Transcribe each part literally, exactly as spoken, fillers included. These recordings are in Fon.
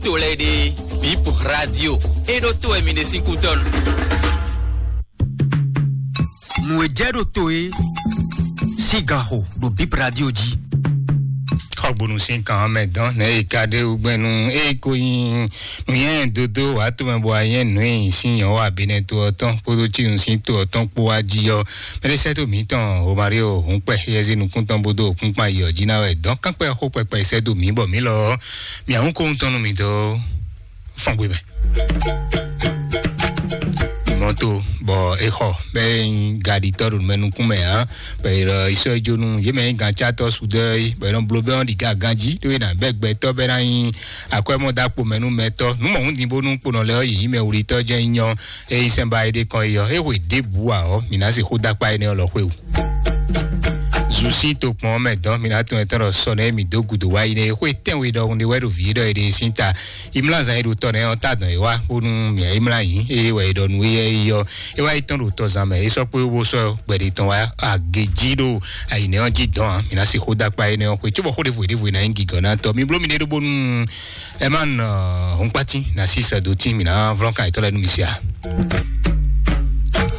To lɛ́ɛ ɖe, Bip Radio. E ɖo to wɛ mi ɖe sín kútɔ́nu. Nǔ e jɛ ɖo to e sín gan xo ɖo Bip Radio jí. Xɔgbonu sín kan mɛ dɔn nɛ e ka ɖe ugbɛnu e ko nyi nuyɛn dodo wà tó mɛ bɔ ayɛ nù e sin yɔn wà bínɛ to ɔ tɔn kpódó cínu sín to ɔ tɔn kpó wá jí ɔ. Mɛɖé sɛ́ tó mǐtɔn Romario Húnpɛ yɛzi nukúntɔn bó dó òkúnkpan yi ɔ jí ná wɛ dɔn kánkpɛ xó kpɛkpɛ sɛ́ dó mǐ bɔ mǐ lɔ mǐ ahún kó ŋutɔn nú mǐ dó fɔngbe mɛ. Mɔto bɔ e xɔ bɛ yin gaɖitɔ ɖo mɛ nukún mɛ hã bɛ yi lɔ isɔ e jo nu ye mɛ yin gancatɔ sudɔ yi bɛ nɔ blo bɛ ɔn ɖi ga ganji ɖo yi na bɛ gbɛtɔ bɛ na yin akwɛmɔ da kpo mɛ nu mɛtɔ nu mɔ hun din bonu kponɔ lɛ yi yi mɛ wulitɔ jɛ nyɔ e yi sɛnba yi ɖe kɔn yi yɔ e hwe ɖe bu a ɔ mi na se xo dakpa yi ne ɔlɔ xwe o. Zu sín tokpɔn mɛ dɔn mi na tún ɛtɔn ɖɔ sɔ nɛ mi dó gudo wá yi ne xwe tɛnwe ɖɔhun ɖe wɛ ɖo vǐ ɖɔ yi ɖe sín ta imla zan yi ɖo tɔ nɛ ɔn ta dɔn yi wá bónú mia imla yi eye wɛ yi ɖɔ nu eye yi yɔ e wá yi tɔn ɖo tɔ zan mɛ e sɔ kpé wo sɔ gbɛɖe tɔn wá agejí ɖo ayi nɛ ɔn jí dɔn a mi na si xó dakpa yi nɛ ɔn xwe cóbɔ xó ɖevo ɖevo yi na yi gigɔ na tɔ mi bló mi ɖe ɖó bónú ɛ má nɔ hɔnkpati na si sɛ do tí mi na vlɔn kan yi tɔ lɛ nu mi sia.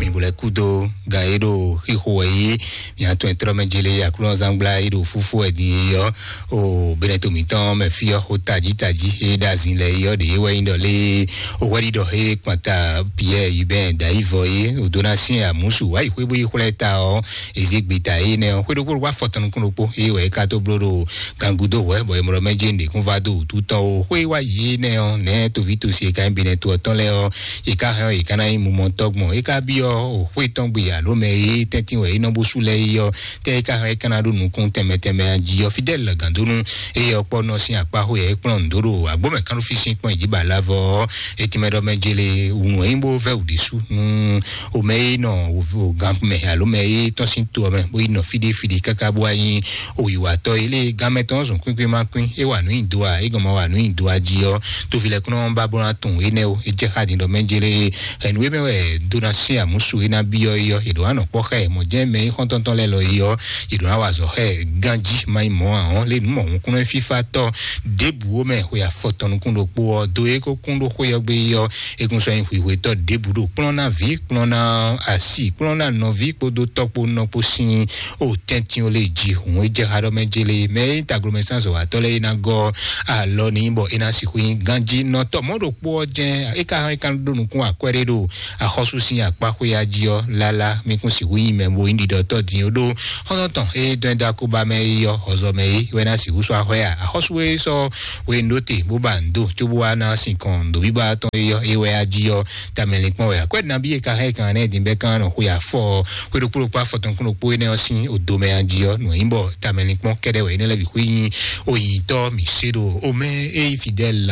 Mi bo lɛ kúdo gan e ɖo xixo wɛ yi mi atɔn e trɔ mɛ jele aklúnɔzangblá e ɖo fúfú wɛ din e yɔ o bɛnɛ to mǐtɔn mɛ fí ɔ xo tají tají e ɖo azin lɛ e yɔ ɖe e wɛ nyí ɖɔ lé o hwɛ ɖiɖɔ e kpanta Pierre Hubert Dayivɔ e o dó ná syɛn amúsu wá yi xwé bó yi xwlɛ ta ɔ ezi gbeta e nɛ ɔ xwé ɖokpó ɖokpó afɔ tɔn nukún ɖokpó e wɛ e ka tó bló ɖo gangudo hwɛ bɔ e mlɔ mɛ jɛ ɖekún va do wútu tɔn o xwé wá yi e nɛ ɔ nɛ toví tosi e ka nyí bɛnɛ to ɔtɔn lɛ ɔ e ka hɛn ɔ e ka ná nyí mumɔtɔ gbɔn e ka byɔ o xwé tɔn gbe alo mɛ e tɛntin wɛ e nɔ bó sú lɛ e yɔ tɛ e ka hɛn e ka ná ɖo nukún tɛnmɛ tɛnmɛ a jí ɔ fidɛl gandonu eye ɔkpɔ nɔ sín akpá xó yɛ e kplɔn ndo ɖo agbómɛ kánú fi sín kpɔn ìdíbà lavɔ etimɛ ɖɔ mɛ jele wùnú e bó vɛ wù ɖésú nú o mɛ e nɔ o gan mɛ alo mɛ e tɔn sín to ɔmɛ bó yi nɔ fíɖí fíɖí káká bó anyi o yiwatɔ e lé gan mɛ tɔn zɔn kwínkín má kwín e wà nú ìdó a e gɔn ma wà nú ìdó a jí ɔ tovilɛkúnɔ ba bó ná tún enɛ o e jɛ xa din ɖɔ mɛ jele ɛnu e mɛ wɛ dó ná sín àmúsu e ná byɔ́ e yɔ e ɖo anɔ kpɔ́ xɛ mɔ jẹ́ mɛ e xɔ́ntɔn tɔn lɛ lɔ e yɔ e ɖo ná wa azɔ̌ xɛ ganjí má nyí mɔ̌ ǎ ɔ́ lé nǔ mɔ hun kúnɔ fífá tɔ́ ɖěbǔ ó mɛ xwe afɔ tɔn nukún ɖokpó ɔ́ dó e kó kún ɖó xwé ɔ́ gbé e yɔ e kún sɔ́ nyí hwihwetɔ́ ɖěbǔ ɖo kplɔ́n ná vǐ kplɔ́n ná asi kplɔ́n ná nɔví kpódó tɔ́ kpó nɔ kpó sín o tɛ́ntin ó lé ji hǔn e jɛ xa ɖɔ mɛ jele mɛ e taglomɛ sín azɔ̌watɔ́ lɛ́ɛ e ná gɔ́ alɔ n'i bɔ é ná sixú nyí ganjínɔtɔ́ mɔ̌ ɖokpó ɔ́ jɛ́n é ka hɛn é ka ɖó nukún akwɛ́ ɖé ɖo axɔ́sú sín akpá xwéá jí ɔ́ lálá mí kún sixú nyí mɛ bo nyí ɖiɖɔtɔ́ din ó ɖó xɔ́ntɔn tɔn e dɔn ɛ dó akóbá mɛ é yɔ xɔzɔ mɛ é wɛ ná sixú sɔ́ axɔ́ ya axɔ́sú é sɔ́ hwenu ɖó te bó ba nǔ dó cóbó wá ná sinkɔn nǔɖobíbá tɔn é yɔ é wɛ á jí ɔ́ tamɛ linkpɔ́n wɛ akwɛ́ nabí e ka hɛn kan nɛ din bɛ kan nɔ xwe afɔ ɔ xwe ɖokpó ɖokpó afɔ tɔn kún ɖokpó énɛ́ ɔ́ sín odomɛ a jí ɔ́ nǔ nyí bɔ tamɛ linkpɔ́n kɛɖɛ wɛ énɛ́ lɛ́ bǐ xwé nyí oyǐtɔ́ mǐ se ɖo omɛ e nyí fidɛl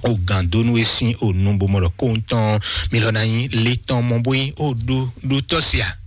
ogandonu e sín onu bó mɔ ɖɔ kóhun tɔn mi lɔ ná nyí le tɔn mɔ bó nyí o ɖó ɖó tɔ́ sia.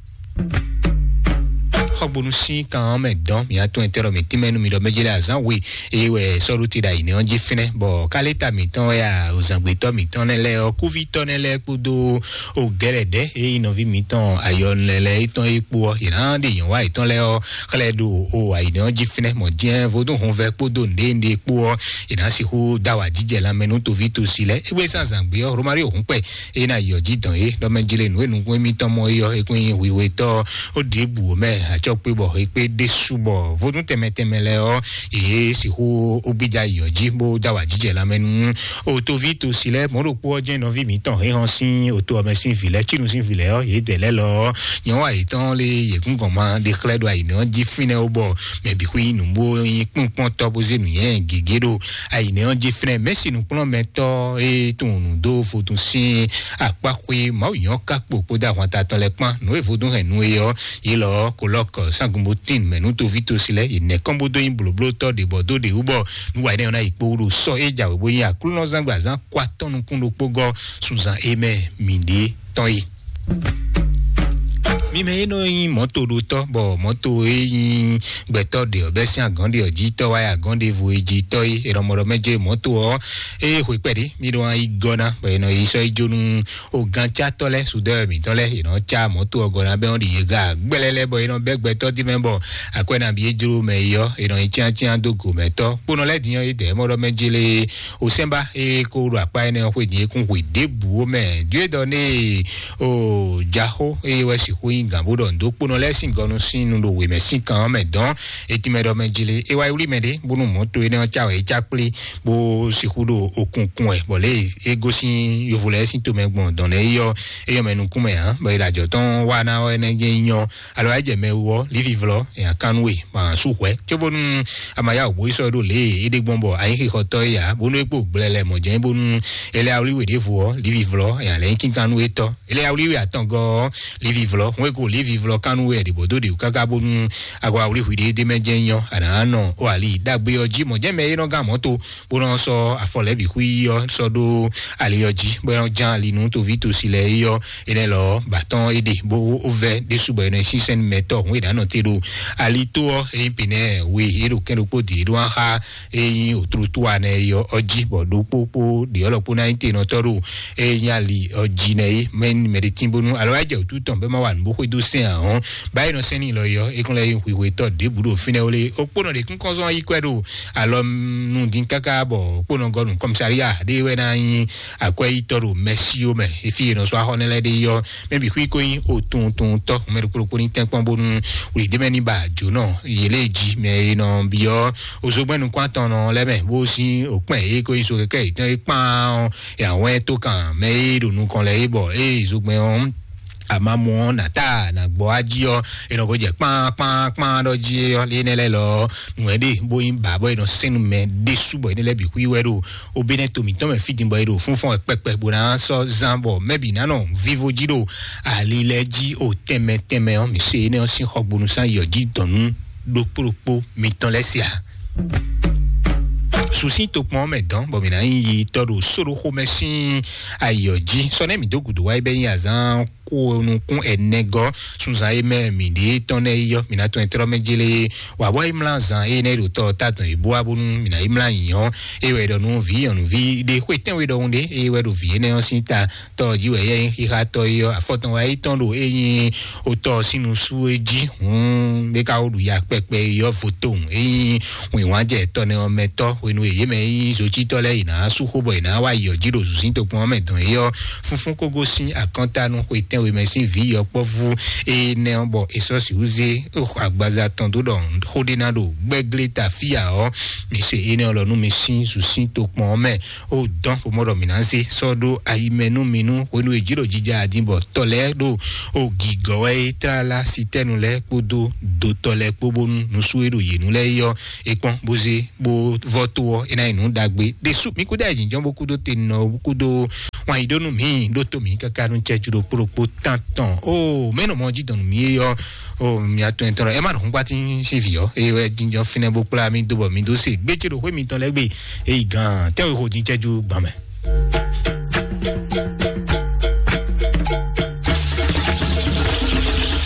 Xɔgbonu sín kan ɔ́ mɛ dɔn mi atún ɛtɛ ɖɔ mi tínmɛ nú mi ɖɔ mɛjɛ lɛ azán we eye wɛ sɔɖu te ɖo ayǐ nɛ ɔ́ jí fínɛ́ bɔ káléta mǐtɔn wɛ a òzàngbétɔ́ mǐtɔn nɛ lɛ ɔ́ kúvítɔ́ nɛ lɛ kpódó o gɛlɛ ɖɛ eye nɔví mǐtɔn ayɔ lɛ lɛ étɔn é kpó ɔ́ yě ná ɖe nyɔ̌ wá yětɔn lɛ ɔ́ xlɛ́ ɖo o ayǐ nɛ ɔ́ jí fínɛ́ mɔ jɛ́n vodún hunvɛ kpódó nǔɖé nǔɖé kpó ɔ́ yě ná sixú dá wà jíjɛ lanmɛ nú toví tosi lɛ égbé zán zǎngbé ɔ́ Romario húnpɛ eye ná yɔ jí dɔn é ɖɔ mɛ jlé nǔ e nukún émítɔn mɔ é ɔ́ é kún nyí hwihwetɔ́ ó ɖěbǔ mɛ acɔkpé bɔ é kpé ɖésú bɔ vodún tɛnmɛ tɛnmɛ lɛ ɔ́ yě sixú ó gbídá yɔ jí bó dá wà jíjɛ lanmɛ nú o toví tosi lɛ mɔ̌ ɖokpó ɔ́ jɛ́n nɔví mǐtɔn hɛn hɔn sín oto ɔmɛ sín vǐ lɛ cínu sín vǐ lɛ ɔ́ yě dɛ lɛ́ lɔ ɔ́ nyɔ̌ wa yětɔn lé yě kún gɔn ma ɖe xlɛ́ ɖo ayǐnɛ ɔ́ jí fínɛ́ ó bɔ mɛ bǐ xwé nyí nǔ bó nyí kpɔ́nkpɔ́ntɔ́ bó zé nǔnywɛ́ gěgé ɖo ayǐnɛ ɔ́ jí fínɛ́ mɛ̌si nǔkplɔ́nmɛtɔ́ e tunwun nǔ dó vodún sín akpáxwé Mawu nyɔ̌ kákpo kpódó ahwanta tɔn lɛ́ɛ kpán nǔ e vodún hɛn nú é ɔ́ yě lɔ ɔ́ kolɔ́k sangunbotín mɛ nú toví tosi lɛ́ɛ yě nɛ́ kɔn bó dó nyí blǒblótɔ́ ɖě bɔ dó ɖě wú bɔ nǔ wa énɛ́ ɔ́ ná yi kpó wú ɖo sɔ́ é jǎwe bó nyí aklúnɔzán gbazán kó atɔ́ nukún ɖokpó gɔ́ sunzan é mɛ mǐɖée tɔn é. Mɛ e nɔ nyi mɔto ɖotɔ, bɔ mɔto e nyi gbɛtɔ ɖe ɔ, bɛ sin agɔn ɖe ɔ, jitɔ wa ya agɔn ɖe vo e jitɔ e, e nɔ mɔ ɖɔ mɛ je mɔto ɔ, e hwe kpɛɖe mi ɖo an yi gɔna, bɔ e nɔ yi sɔ yi jonu o gancatɔ lɛ, sudɔ mǐtɔn lɛ, e nɔ ca mɔto ɔ gɔna bɛ ɔn ɖi ye ga gbɛlɛ lɛ, bɔ e nɔ bɛ gbɛtɔ di mɛ, bɔ akwɛ na bi e jlo mɛ yi ɔ, e nɔ yi tiantian do go mɛ tɔ kponɔ lɛ diyan e dɛ mɔ ɖɔ mɛ jele o sɛnba e ko ɖo akpa enɛ ɔ xwe din e kún hwe ɖěbǔ o mɛ. Due dɔ ne o jaxo eye wɛ sixu nyi gǎn bó ɖɔ ndo kponɔ lɛ́ɛ sín gɔnu sín nu ɖo wěmɛ sín kan ɔ́ mɛ dɔn. Etinmɛ ɖɔ mɛ jili e wá yi wlí mɛ ɖé bónú mɔ̌ to énɛ́ ɔ́ cá wɛ é cá kplé bó sixú ɖo okunkun wɛ, bɔ lě e gosín yovo lɛ́ɛ sín tomɛ gbɔn dɔn lɛ́ɛ é yɔ é yɔ mɛ nukún mɛ ǎ, bɔ é ɖo ajɔ tɔn wá ná ɔ́ énɛ́ jẹ́ nyɔ. Alo wá jɛ mɛ wú ɔ́, lífi vlɔ́ nya kan nú we, ma sú hwɛ̌ cóbónú a ma yá wǔ bó yi sɔ́ ɖó lě e é ɖe gbɔn bɔ anyíxixɔtɔ́ é ǎ, bónú é kpo gblɛ lɛ mɔ̌ jɛ́n bónú é lɛ́ wá wlí we ɖěvo ɔ́, lífi vlɔ́ nya lɛ̌ nyí kínkán nú étɔ́. Ele awlí we atɔngɔ ɔ́, livi vlɔ hun eko livi vlɔ kanu we ɖibɔ dó ɖi káká bónú agɔ awlí hwi ɖé ɖé mɛ jɛ nyɔ ana nɔ o ali dagbe ɔ jí mɔ jɛ mɛ e nɔ gán mɔto bó nɔ sɔ afɔ lɛ bi hui ɔ sɔ ɖó ali ɔ jí bó nɔ ján ali nú toví tosi lɛ yɔ enɛ lɔ batɔn ede bó ovɛ ɖésú bɔ enɛ sísɛn mɛtɔ hun e ɖanɔ te ɖo ali tó ɔ eyi pinɛ we e ɖo kɛn ɖokpó di e ɖo axa eyi otrotoa nɛ yɔ ɔ jí bɔ ɖokpó kpó ɖi ɔlɔkpó ná nyí tenɔtɔ ɖo eyi ali ɔ jí nɛ yé mɛ mɛ ɖe tín bónú alo wá jɛ wǔtu tɔn bɛ ma wa nǔ bó xwedó sɛn ahɔn báyìí nɔ sɛn ní lɔ yɔ ekún lɛ yí hwihwe tɔ ɖěbǔ ɖo fínɛ́ wlé okpónɔ ɖe kún kɔn zɔn yí kwɛ ɖo alɔ nu dín káká bɔ okpónɔ gɔnu kɔmsaria ɖé wɛ ná nyí akwɛyítɔ ɖo mɛsíó mɛ efi yě nɔ sɔ axɔ nɛ lɛ ɖé yɔ mɛ bǐ xwí ko nyí otuntun tɔ mɛ ɖokpó ɖokpó ní tɛnkpɔn bónú wlǐdémɛ ní ba jǒnɔ yě lé jí mɛ e nɔ byɔ́ ozogbɛ́n nukún atɔn nɔ lɛ́ mɛ bó sín òkpɛn e ko nyí so kɛkɛ yětɔn e kpán ɔ́ yàwɛn tó kan mɛ e ɖo nukɔn lɛ é bɔ ée zogbɛn ɔ́ amamɔ ɔ́ nàtá nàgbɔ ají ɔ́ è nɔ ko jɛ kpán kpán kpán ɖɔ jí ɔ́ lé nɛ lɛ lɔ nù ɛ ɖe bó nyí ba bɔ è nɔ sɛn nú mɛ ɖésú bɔ è nɛ lɛ bǐ xwí wɛ ɖo obénɛ to mǐtɔn mɛ fí din bɔ è ɖo fúnfɔ́n wɛ kpɛkpɛ bó ná sɔ́ zán bɔ mɛ bǐ ná nɔ vivo jí ɖo ali lɛ jí o tɛnmɛ tɛnmɛ ɔ́ mǐ se énɛ́ ɔ́ sín xɔgbónú sán yɔ jí dɔ̌n nú ɖokpó ɖokpó mitɔn lɛ́ se ǎ. Susí tokpɔn mɛ dɔn bɔ mǐ ná nyí yi tɔ ɖo sóɖoxomɛ sín ayɔ jí sɔ nɛ mǐ dó gǔdo wá bɛ nyí azán kó nukún ɛnɛ gɔ sunzan e mɛ mǐ ɖe tɔn nɛ yɔ mǐ ná tɔn trɔ mɛ jele wà bɔ imla zan e nɛ ɖo tɔ ta dɔn ibo abonu mǐ ná imla nyɔ e wɛ ɖɔ nu vi nyɔnuvi ɖe xwe tɛn we ɖɔhun ɖe e wɛ ɖo vi enɛ ɔ́ sín ta tɔ jí wɛ yɛ xixa tɔ yi ɔ́ afɔtɔn wa yi tɔn ɖo e nyi otɔ sínu sú e jí hun bɛ ka wo ɖu ya kpɛkpɛ yɔ votohun e nyi wìnwánjɛ tɔnɛ ɔ́ mɛ tɔ hwenu e yě mɛ yi zocítɔ lɛ yi ná sú xó bɔ yi ná wa yi ɔ́ jí ɖo zuzín tokpɔn ɔ́ mɛ dɔn yi ɔ́ funfun kogo sín akɔnta nú xwe tɛnwe mɛ sín vǐ yɔkpɔ́vú e nɛ ɔ́ bɔ e sɔ́ sixú zé agbaza tɔn dó ɖɔ xó ɖé ná ɖo gbɛ́glé ta fíya ɔ́ mi se énɛ́ ɔ́ lɔ nú mi sín zuzín tokpɔn ɔ́ mɛ ó dɔn bó mɔ ɖɔ mǐ ná zé sɔ́ ɖó ayi mɛ nú mi nú hwenu e jǐ ɖo jija adin bɔ tɔ lɛ́ɛ ɖo o gǐgɔ́ wɛ é tlala sitɛnu lɛ́ɛ kpódó dotɔ lɛ́ɛ kpó bónú nusú e ɖo yě nu lɛ́ɛ yɔ é kpɔ́n bó zé bó vɔ tó ɔ́ é ná nyí nǔ ɖagbe ɖésú mi kúdó ayǐjínjɔ́n bó kúdó te nɔ bó kúdó wan yi ɖó nú mǐ ɖó tó mǐ káká nú cɛ́jú ɖo kplokpó tán tɔn ó mɛ̌ nɔ mɔ jí dɔn nú mǐ é yɔ ó mia tɔn ɛ tɔn ɛ má nɔ hún gbá tí ń sí vǐ ɔ́ é wɛ jínjɔ́n fínɛ́ bó kplá mí dó bɔ mí dó se gbéjé ɖo xwé mitɔn lɛ́ɛ gbe Eyi gan tɛ́nwe xo din cɛju gban mɛ.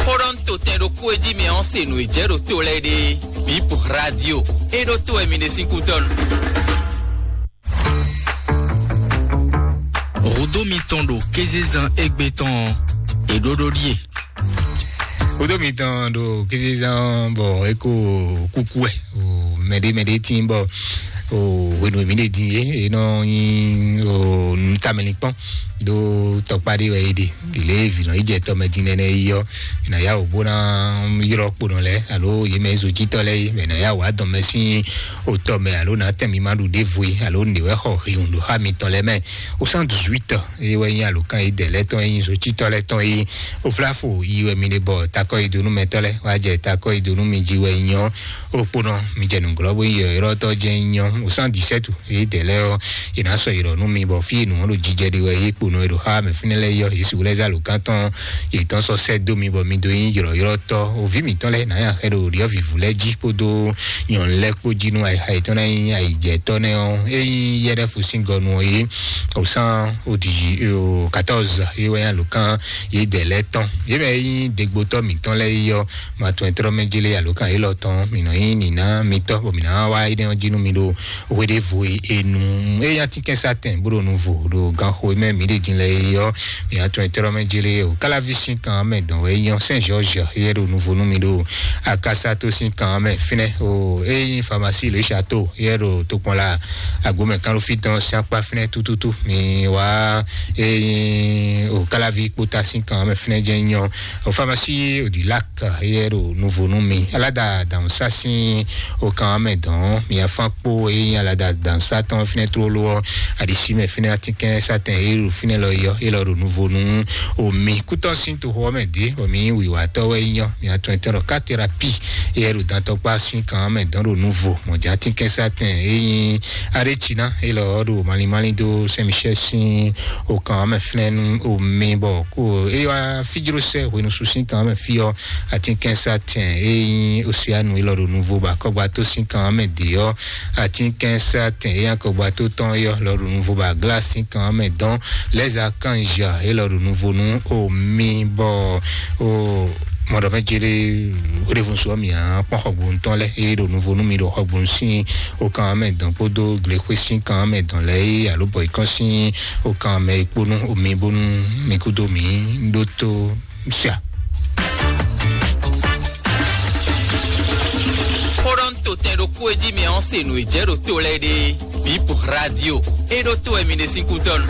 Xóɖɔ́ntotɛn ɖokpó e jí mi ɔ́ se nǔ e jɛ ɖo to lɛ́ɛ ɖe. Bip radio e ɖo to wɛ mi ɖe sín kútɔ́nu. Rodo mitɔn ɖo kézezan égbé tɔn ɔ́, è ɖó ɖó ɖíe. Rodo mitɔn ɖo kézezan bɔ é ko kúkú wɛ. Mɛɖé mɛɖé tín bɔ o hwenu mi ɖe din ye e nɔ nyi o nutamɛlikpɔn ɖo tɔkpa ɖe wɛ yi ɖe ɖile vi nɔ yi jɛ tɔmɛ din nɛnɛ yi yɔ na ya o bó na yrɔ kponɔ lɛ alo yi mɛ zojitɔ lɛ yi mɛ na ya o adɔn mɛ sin o tɔmɛ alo na tɛn mi ma ɖu ɖe vo yi alo ne wɛ xɔ hiun ɖo xa mitɔn lɛ mɛ o cent dix-huit eye wɛ nyi alokan yi dɛ lɛ tɔn yi zojitɔ lɛ tɔn yi o flafo yi wɛ mi ɖe bɔ takɔ yi donu mɛtɔ lɛ wa jɛ takɔ yi donu mi ji wɛ nyɔ o kponɔ mi jɛ nuglɔ bo yi yɔyɔrɔtɔ jɛ nyɔ o cent dix-sept yi dɛ lɛ ɔ Yě ná sɔ yě ɖɔ nú mi bɔ fí e nǔ ɔ́ ɖo jijɛ ɖe wɛ yě kponɔ e ɖo xá mɛ fínɛ́ lɛ́ɛ yɔ yě sixú lɛ́ zá lǒkan tɔn yětɔn sɔ́ sɛ́ dó mi bɔ mi dó nyí ylɔ̌ylɔ́tɔ́. Òví mǐtɔn lɛ́ɛ nǎ nyi axɛ ɖo ɖyɔ̌vǐvú lɛ́ɛ jí kpódó nyɔ̌nu lɛ́ɛ kpó jí nú ayixa yětɔn ná nyí ayǐjɛtɔ́ nɛ́ ɔ́. É nyí yɛ́ɖɛ́fu sín gɔnu ɔ́ yě osán odǐ quatorze yé wɛ nyí alǒkan yě dɛ lɛ́ɛ tɔn. Yě mɛ nyí degbotɔ́ mǐtɔn lɛ́ɛ yí ɔ́, ma tɔn e tlɔ́ mɛ jélé alǒkan élɔ́ tɔn, mǐ nɔ nyí nǐná mitɔ́ bɔ mǐ ná wá énɛ́ ɔ́ jí nú mi ɖo hweɖěvo e e nu. Eye atínkɛnsatɛn bó ɖo nuvo ɖo ganxo e mɛ mǐ ɖe din lɛ é ɔ́, mǐ atɔn e tlɔ́ mɛ jélé o káláví sín kan mɛ dɔn wɛ nyɔ sɛn zhɔzhɔ yɛ ɖo nuvo nú mi ɖo akasato sín kan mɛ fínɛ́ o. Eye nyí famasi le château yɛ ɖo tokpɔn la agomɛ kanɖófí dɔn sín akpá fínɛ́ tututu. Mi wá eye nyí o káláví kpóta sín kan mɛ fínɛ́ jẹ́ nyɔ o famasi o du lac yɛ ɖo nuvo nú mi. Alada dànù sá sín o kan mɛ dɔn mi afán kpó eye nyí alada dànù sá tɔn fínɛ́ tlóló ɔ́, aɖisí mɛ fínɛ́ atínkɛnsatɛn e ɖo fínɛ́ lɔ yɔ e lɔ ɖo nuvo nú omi kútɔ́ sín toxo ɔ́ mɛ dě bɔ mi nyí wǐwatɔ́ wɛ nyɔ. Mi atɔn etɔ́ ɖɔ katerapi e ɖo dantɔkpá sín kan mɛ dɔn ɖo nuvo mɔ̌já atínkɛnsatɛn e nyí aɖéciná e lɔ ɖo malimali dó sɛnmichɛ sín o kan mɛ fínɛ́ nú omi bɔ kó e wá fíjló sɛ hwenusu sín kan mɛ fí ɔ́, atínkɛnsatɛn e nyí oseanu e lɔ ɖo nuvo bɔ akɔgbató sín kan mɛ dě ɔ́, atínkɛnsatɛn e nyí akɔgbató tɔn é ɔ́ lɔ ɖo nuvo bɔ aglá sín kan mɛ dɔn lɛza kanzha e lɔ ɖo nuvo nú omi bɔ o mɔɖɔmɛ jele wodevunsu ɔ́ mǐa kpɔn xɔgbonu tɔn lɛ e ɖo nuvo nú mi ɖo xɔgbonu sín o kan mɛ dɔn kpódó glexwé sín kan mɛ dɔn lɛ e alo bɔ ikɔn sín o kan mɛ e kpónú omi bónú mi kúdó mi ɖótó. Sia. Xó ɖɔ ń to tɛn ɖokpó e jí mi ɔ́ se nǔ e jɛ ɖo to lɛ́ɛ ɖe. Bip radio. E ɖo to wɛ mi ɖe sín kútɔ́ nu.